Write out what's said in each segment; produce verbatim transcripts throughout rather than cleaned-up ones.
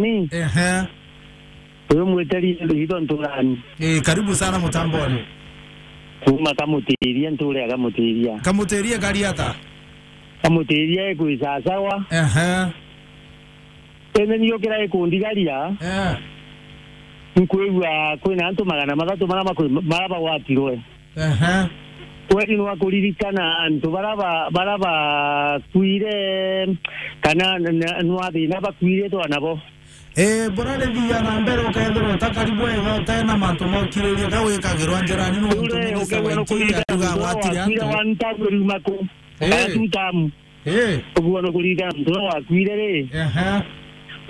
Ni? Ehe. Uyu mwiteri ito nturani. Eh, karibu sana mutamboni. Kuma Kamutiria, nture ya Kamutiria. Kamutiria kari ata? Kamutiria ikwi sasawa. Ehe. Ene niyo kira ikundigaria. Eh. Nkwigua kwina antu magana mathatu mara makwi-, mara bagwatirwe. Ehe. Kweri nwa kuririkana antu bara ba-, bara bakwire kana n-, n-, nwa thina bakwire twana bo. Eh, burarithia na mbere ukethirwa utakari bwega, utena mantu mokiriria ga wikagirwa njirani, nuntu Ure, minister wa ukegwa no interior kuririkana akuga muntu agwatire wakwire antu. One time riuma ku. Eh. Kana two term. Eh. Uguo no kuririkana muntu uria wakwire ri. Ehe.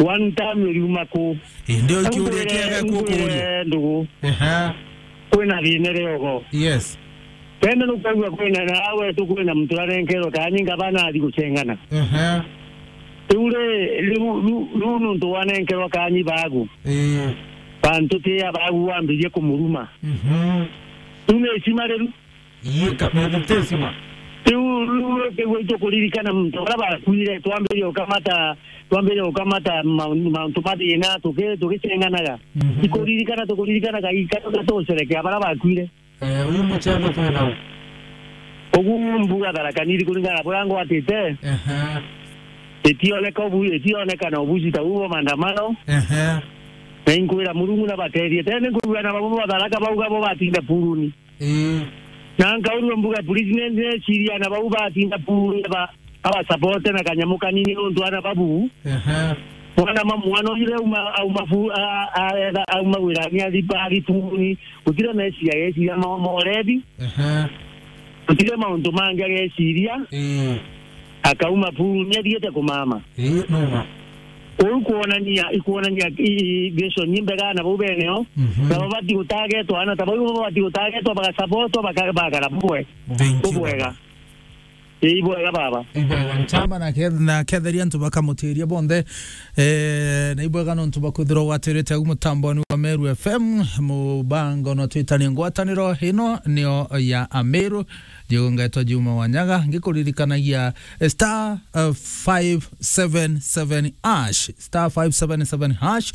One term iriuma ku? Indi ukiuria kiega kukuria. Ndugu. Ehe. Kwina thina riogo. Yes. Tene nukwigua kwina na awe tu kwina muntu arenkerwe kani ngabana athi gucengana. Ehe. Riu ri, riu, riu, riu nuntu wanenkerwa kani bagu. Eh. Bantu ti abagu wambirie kumuruma. Mhm. Riu ni icima riu. Ii, ka-, meditation. Riu, riu, riu, riu tukuririkana muntu bara bakuire, twambirie ukamata, twambirie ukamata maun-, mauntu ma thina, tuki-, tugicenganaga. Mhm. Ikuririkana, tukuririkanaga, ika-, tugucerekea bara bakuire. Eh, uyu mucendo twina u? Ugu mbuga Tharaka Nithi kuringana na buria ngwatite. Ehe. Itioneka ubu-, itionekana ubuci ta ubu bwa maandamano. Ehe. Na inkwira Murungu na batethie. Tene nkwigua na babo ba Tharaka bauga bo batinda puruni. Ii. Na nkaurua mbuga, police ne, neciria na bau batinda puruni ba, aba support na kanyamu kanini nontu ana babu. Ehe. Mwana ma mwana uyu auma, auma fu-, a, a, etha, auma wirani athi, athi puruni. Gutire meciria ageciria ma, ma urebi. Ehe. Gutire mauntu mangi ageciria. Ii. Akauma puruni athiete kumama. Ii, numa. Uu kwonania, ikwonania i, i, vision imbega na bau beneo. Mhm. Na babati gutagetwa, ana ta bau babati gutagetwa, bagasabotwa, baka-, bagara bubwe. Thank you, bubwega. Baba. Ii, bwega baba. Ibwega nchama na ke-, na ketheria antu bakamutiria bonthe. Eh, na ibwega nontu bakwithirwa gwatirite au mutamboni wa Meru F M, mubango no twitanie ngwataniro ino nio ya Ameru. Ndio ngetwa Juma Wanyaga, ngikuririkanagia, eh, star, eh, five seven seven hash, star five seven seven hash,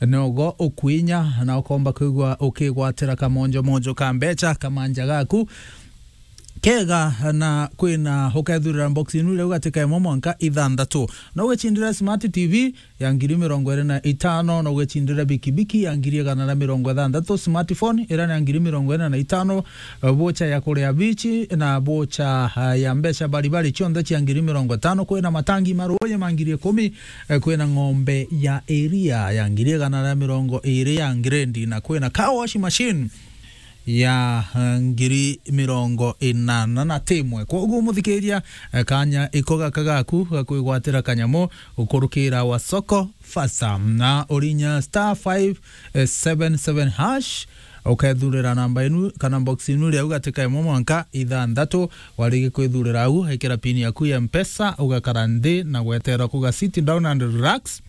nogo ukwinya na ukomba kwigua ukigwatira kamonjo monjo ka mbecha kamanja gaku kega, na kwina ukethurira box inu riu gatika imwe mwanka ithanthatu. No ugicindira smart T V ya ngiri mirongo iri na itano, na ugicindira bikibiki ya ngiri igana na mirongo ithanthatu, smartphone ira ni ya ngiri mirongo iri na itano, eh, bocha ya kuria bichi na bocha, eh, ya mbeca baribari cionthe cia ngiri mirongo itano, kwina matangi ma ruuji ma ngiri ikumi, eh, kwina ng'ombe ya iria ya ngiri igana na mirongo iri ya ngirendi, na kwina car wash machine ya, eh, ngiri mirongo inana na timwe. Kwoguo muthikiria, eh, kanya iko gaka gaku ga kwigwatira kanyamu ukurukira wa soko fasa na urinya star five seven seven hash, ukethurira namba inu kana box inu riu gatika imwe mwanka ithanthatu. Warigi kwithurira au, ikira pin yaku ya Mpesa, ugakara nthi na gweterera kuga sit down and relax.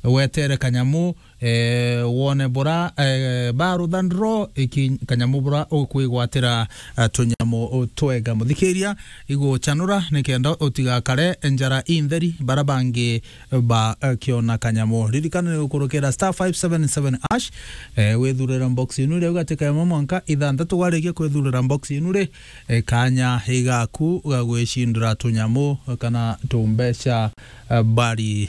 Wetere kanyamu, eh, wone bura, eh, ba ruthandro iki kanyamu bura ukwigwatira, eh, tunyamu twega. Muthikiria, iguchanura nikenda utigakare njara intheri bara bangi ba, eh, kiona kanyamu. Ririkana ni gukurukira star five seven seven hash, eh, withurire box inu riu gatika imwe mwanka ithanthatu. Warikia kwithurira box inu ri, eh, kanya igaku ga gwicindira tunyamu kana tumbeca, eh, bari